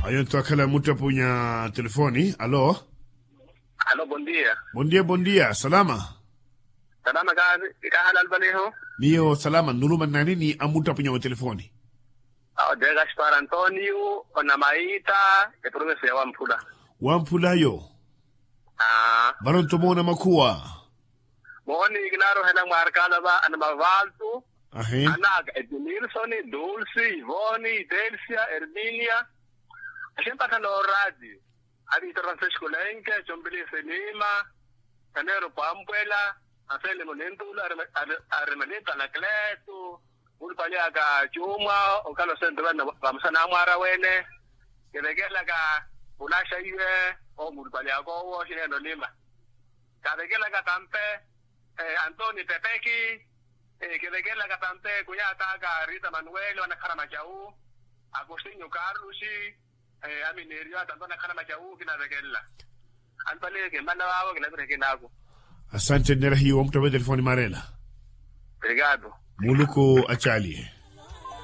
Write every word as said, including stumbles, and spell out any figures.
Ayo nto akhala muttapunya telefoni. Alo. Alo, bondia. Bondia bondia salama. Salama kahalalupaniho. Miyo salama nuluma nnanini amuttapunya wa telefoni? Awo de gaspar antonio onamaita. Eprovinsi ya wamphula. Wamphula yo. Vano nto moona makhuwa. Mooni kinarohela mwaarkala va anamavaltu. Anaka edmilsoni, dulsi, ivoni, delsia, erminia. Aximpathana orati. Avitor francisco lenke, compilisi nima. Tanero pampwela. Afelimo nintula. Aremelita anakleto. Mulupali aka cumwa okhala osentuvana vamusana amwaara wene. Kivekelaka. Unaxa iwe. Omulupali aka owo xineno nima. Kavekelaka tampe. Antoni pepeki. Kivekelaka tampe kunyataka rita manuel wanakhala macawu. Agostinho carlos. Aminerio atampe wanakhala macawu kinavekelela. Antoni kimmana vavo kinavireke naku. Asante nera hiyo wamuttave telefoni marela. Obrigado. Muluku acaliye.